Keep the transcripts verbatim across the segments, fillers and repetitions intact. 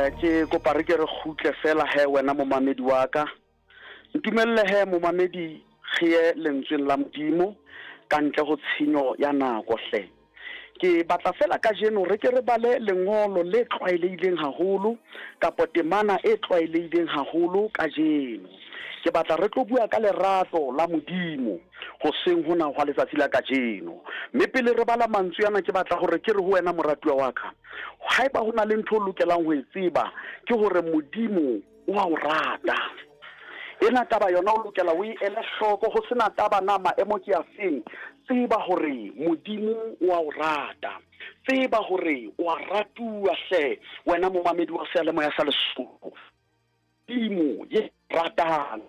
Eh ke kopa re ke re kgutle fela he wena momamedi wa ka. Ntumelle he momamedi re ye lentsweng la Modimo ka ntle ho tshenyo ya nako hle. Ke batla fela kajeno re ke re bale lengolo le tlwaelehileng haholo kapa temana e tlwaelehileng haholo kajeno. Ke batla re tlo bua ka lerato la Modimo hoseng hona hwa letsatsi la kajeno. Mme pele re bala mantswe ana ke batla hore ke re ho wena moratuwa wa ka, haeba ho na le ntho o lokelang ho e tseba ke hore Modimo o a o rata. Ena taba yona o lokela o e ele hloko ho sena taba na maemo ke a feng. Tseba hore Modimo o a o rata. Tseba hore o a ratuwa hle wena momamedi wa seyalemoya sa Lesotho. Modimo ye ratang.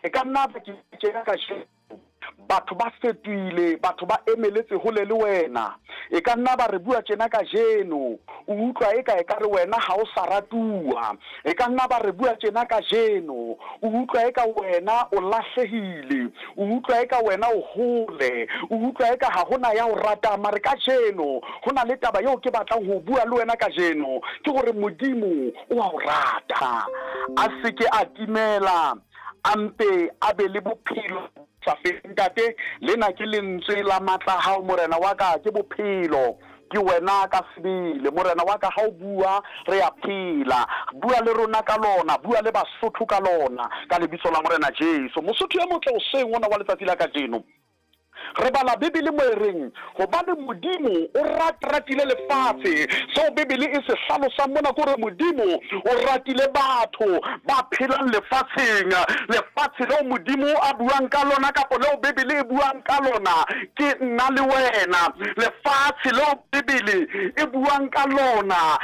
E ka nna ba ke tjena kajeno batho ba fetohile, batho ba emeletse hole le wena. E ka nna ba re bua tjena kajeno, o utlwa eka ekare wena ha o sa ratuwa. E ka nna ba re bua tjena kajeno, o utlwa eka wena o lahlehile, o utlwa eka wena o hole, o utlwa eka ha hona ya o ratang. Mare kajeno ho na le taba eo ke batlang ho bua le wena kajeno, ke hore Modimo o a o rata. A se ke a timela, a mpe a be le bophelo sa feleng. Ntate, lena ke lentswe la matla a hao morena wa ka, ke bophelo, ke wena ka sebele morena wa ka. Ha o bua re a phela, bua le rona ka lona, bua le Basotho ka lona, ka lebitso la Morena Jesu. Mosotho e motle hoseng ona wa letsatsi la kajeno, re bala Bibele mo e reng hobane Modimo o ratile lefatshe. Seo Bibele e se hlalosang mona ke hore Modimo o ratile batho ba phelang lefatsheng. Lefatshe leo Modimo a buang ka lona kapa leo Bibele e buang ka lona ke nna le wena. Lefatshe leo Bibele e buang ka lona